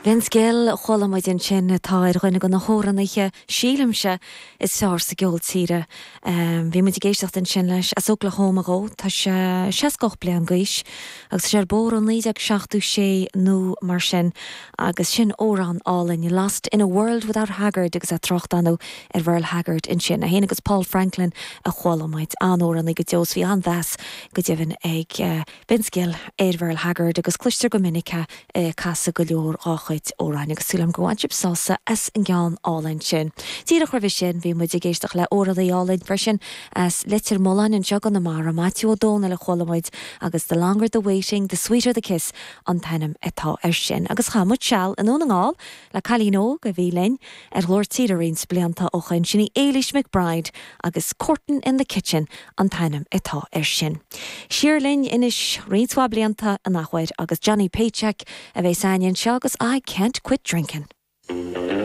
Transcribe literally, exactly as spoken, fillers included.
Vince Gill a chuala muid ansin atá ar dhuine de na hamhránaithe sílimse is fearr sa gceol tíre. Um, bhí muid ag éisteacht ansin leis as Oklahoma dhó tá sé seasca bliain d'aois agus sé ar bór an naoi déag seachtó sé nó mar sin agus sin amhrán álainn Lost in a World Without Haggard agus a tráchtánú ar Merle Haggard ansin a héana agus Paul Franklin a chuala muid an-amhránaí go deo bhí an-mheas go deimhin ag uh, Vince Gill ar Merle Haggard agus cloistear go minic uh, casadh go leor dá chuid amhrán agus súil go bhfuil sibh sásta as an gceann álainn sin. Díreach roimhe sin bhí muid ag éisteacht le amhránaí álainn freisin as Leitir Mealláin anseo i gConamara Maitiú Ó Dónaill a chuala muid agus the longer the waiting, the sweeter the kiss an t-ainm atá air sin. agus chaith muid seal i nDún na nGall le cailín óg a bhí linn ar Ghlór Tíre roinnt blianta ó shin sin í Éilís McBride agus Courtin in the Kitchen an t-ainm atá air sin. Siar linn anois roinnt blianta an athuair agus Johnny Paycheck a bheas againn anseo agus I can't quit drinking.